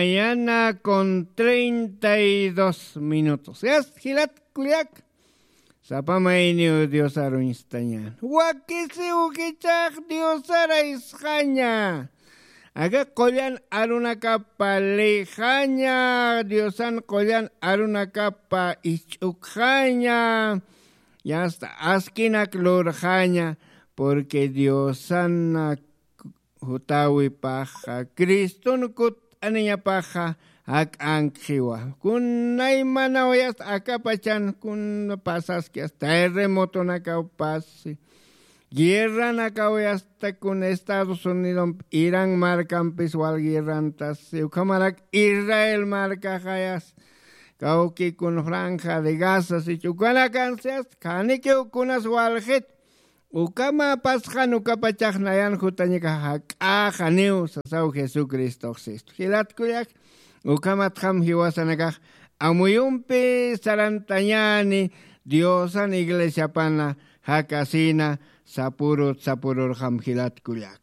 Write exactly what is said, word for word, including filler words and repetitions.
Mañana con treinta y dos minutos. Yast jilat kullak. Sapamayniw diosar uñstañan, wakisiw jichax diosara isqaña. Aka qullan arunakapa lixaña, diosan qullan arunakapa isch'ukxaña. Yasta askinak lurxaña. Porque diosan jutawipaxa criston kut'aniñapaxa jak'ankxiwa. Kunaymanaw yasta akapachan kun pasaski asta terremotonakaw pasi, guerranakaw yasta kun estados unidompi iran markampis wal guerrantasi ukhamarak israel markaxayas kawki kun franja de gaza sich ukanakansi asta khanikiw kunas walxit. Ukama pasxan ukapachax nayan jutañaka jak'axaniw sasaw jesucristox sistu jilatkullak. Ukamatxam jiwasanakax amuyumpi sarantañani diosan iglesiapana jakasina sapurut sapururxam jilatkullak.